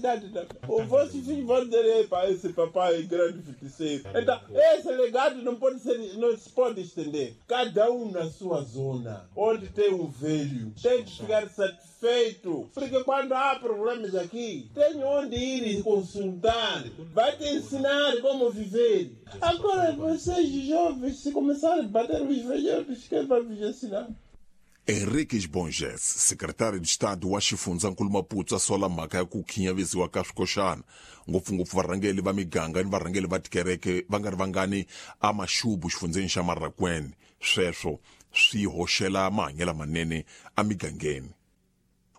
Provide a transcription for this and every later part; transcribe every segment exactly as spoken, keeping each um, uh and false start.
cidade também. Os vossos filhos vão dizer, epa, esse papai é grande feiticeiro. Então, esse legado não pode ser, não se pode estender. Cada um na sua zona, onde tem um velho, tem de ficar satisfeito. Porque quando há problemas aqui, tem onde ir consultar. Vai te ensinar como viver. Agora, vocês jovens, se começarem a bater os velhos, quem vai vos ensinar? Henriques Bonges, secretário de Estado wa xifundzankulu Maputo a sola mhaka ya ku khinyavisiwa ka swikoxana, ngopfungopfu varhangeli va miganga ni varhangeli va tikereke va nga ri vangani a Maxubu xifundzeni xa Marraquene. Sweswo swi hoxela mahanyelo manene emigangeni.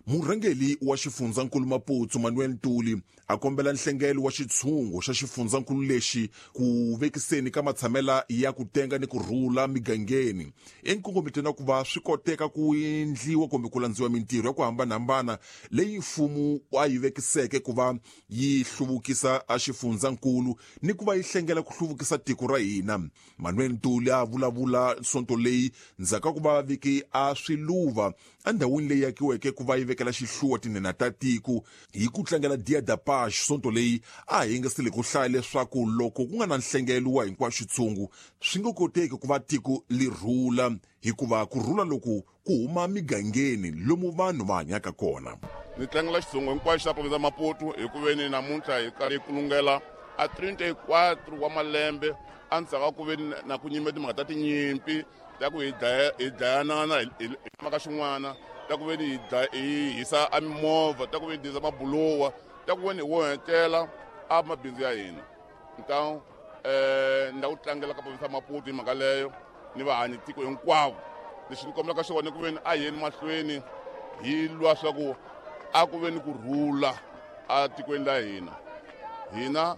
Murhangeli wa xifundzankulu Maputo Manuel Ntuli a kombela nhlengelo wa xitshungu xa xifundzankulu lexi ku vekiseni ka matshamela ya ku tenga ni ku rhula migangeni enkongometweni wa ku va swi koteka ku endliwa kumbe ku landziwa mintirho ya ku hambanahambana leyi mfumo a yi vekiseke ku va yi hluvukisa a xifundzankulu ni ku va yi hlengela ku hluvukisa tiko ra hina. Manuel Ntuli a vulavula sonto leyi ndzhaku ka ku va viki a swiluva endhawini leyi akiweke ku va yi vekela xihluwa tinhenha ta tiko hi ku tlangela Dia da Paz. Sonto leyi a hi yingisile ku hlaya leswaku loko ku nga na nhlengelo wa hinkwaxo xitshungu swi nge koteki ku va tiko li rhula, hikuva ku rhula loku ku huma migangeni lomu vanhu va hanyaka kona. Ni tlangela xitshungu hinkwaxo xa province ya Maputo hi ku veni namuntlha hi karhi hi kulungela a trinta e quatro wa malembe endzhaku ka ku veni na ku nyime timhaka ta tinyimpi ta ku hi dlaya hi dlayanana hi mhaka xin'wana, ta ku veni hi hi hisa a mimovha, ta ku veni hi hisa mabulowa, ta ku veni hi onhetela a mabindzu ya hina. Então eh ni la ku tlangela ka province ya Maputo hi mhaka leyo ni vahanyi tiko hinkwavo. Lexi ni kombelaka xona ku veni a yeni mahlweni hi lwa swa ku a ku veni ku rhula a tikweni la hina. Hina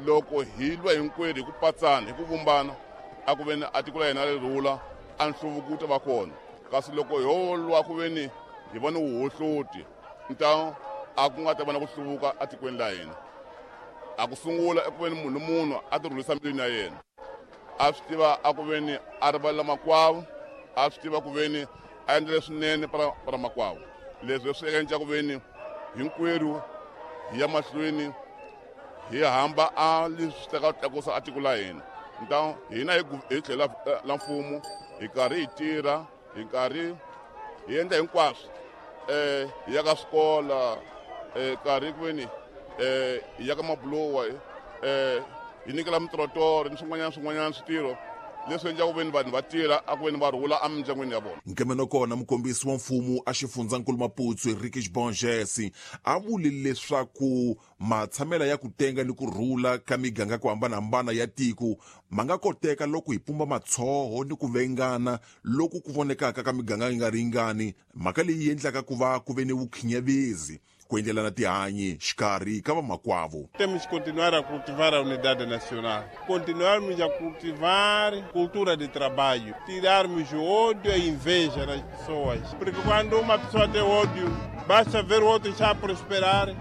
loko hi lwa hinkwerhu hi ku patsana hi ku vumbana, a ku veni a tiko la hina ri rhula, a nhluvuko wu ta va kona. Kasi loko ho lwa ku veni hi va ni vuhohloti, nta a ku nga ta va na ku hluvuka atikweni la hina. A ku sungula eku veni munhu ni munhu a ti rhulisa mbilwini ya yena, a swi tiva a ku veni a rivalela makwavo, a swi tiva ku veni a endla leswinene para para makwavo. Leswi swi endla ku veni hinkwerhu hi ya mahlweni hi hamba a leswi teka tlakusa a tiko la hina. Nta hina hi hi tlhela la mfumo hi karhi hi tirha, hi karhi hi endla hinkwaswo, eh hi ya ka swikola, eh karhi ku veni eh hi ya ka mabulowa, eh hi nyikela mitrotoro ni swin'wanyana swin'wanyana switirho leswi endlaka ku veni vanhu va tirha a ku veni va rhula emindyangwini ya vona. Nkemeno kona mukombisi wa mfumo a xifundzankulu Maputo Henriques Bonges a vule leswaku matshamela ya ku tenga ni ku rhula ka miganga ku hambanahambana ya tiko ma nga koteka loko hi pumba matshoho ni ku vengana loku ku vonekaka ka miganga yi nga ringani, mhaka leyi endlaka ku va ku ve ni vukhinyavezi ku endlelana tihanyi xikarhi ka vamakwavo. Temos que continuar a cultivar a unidade nacional, continuarmos a cultivar cultura de trabalho, tirarmos o ódio e a inveja das pessoas. Porque quando uma pessoa tem ódio, basta ver o outro já a prosperar,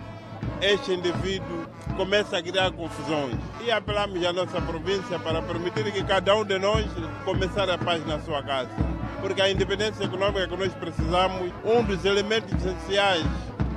este indivíduo começa a criar confusões. E apelamos à nossa província para permitir que cada um de nós começar a paz na sua casa. Porque a independência econômica que nós precisamos, um dos elementos essenciais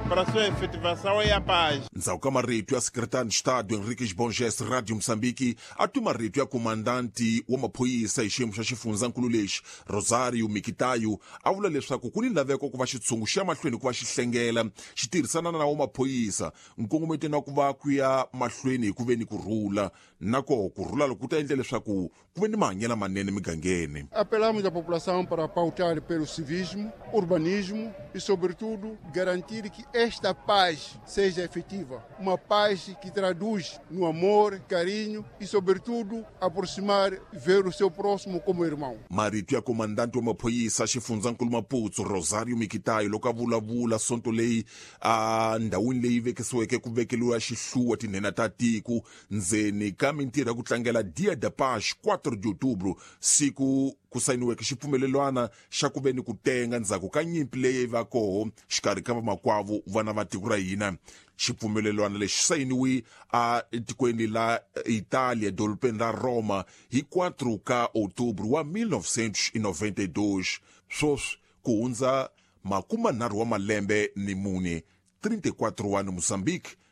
para a sua efetivação é a paz. Ndzhaku ka marito ya secretário de Estado Henriques Bonges, Radio Moçambique a twi marito ya komandanti wa maphorisa hi xiyimo xa xifundzankulu lexi Rosario Mikitayo a vula leswaku ku ni laveko ku va xitshungu xi ya mahlweni ku va xi hlengela xi tirhisana na wa maphorisa nkongometweni wa ku va ku ya mahlweni hi ku ve ni ku rhula, na koho ku rhula loko ku ta endla leswaku ku ve ni mahanyelo manene migangeni. Apelamos à população para pautar pelo civismo, urbanismo e, sobretudo, garantir que esta paz seja efetiva. Uma paz que traduz no amor, carinho e, sobretudo, aproximar, ver o seu próximo como irmão. Marito ya komandante wa maphorisa xifundzankulu Maputo Rosario Mikitayo loko a vulavula sonto leyi a ndhawini leyi vekisiweke ku vekeliwa xihluwa tinhenha ta tiko ndzeni ka mintirho ya ku tlangela Dia da Paz quatro de outubro, siku ku sayiniweke xipfumelelwana xa ku ve ni ku tenga ndzhaku ka nyimpi leyi va koho xikarhi ka vamakwavo vana va tiko ra hina. Xipfumelelwana lexi sayiniwe a tikweni la Italia dorobeni ra Roma hi quatro ka outubro wa mil novecentos e noventa e dois. Sweswi ku hundza makumanharhu wa malembe ni mune, trinta e quatro ano Moçambique.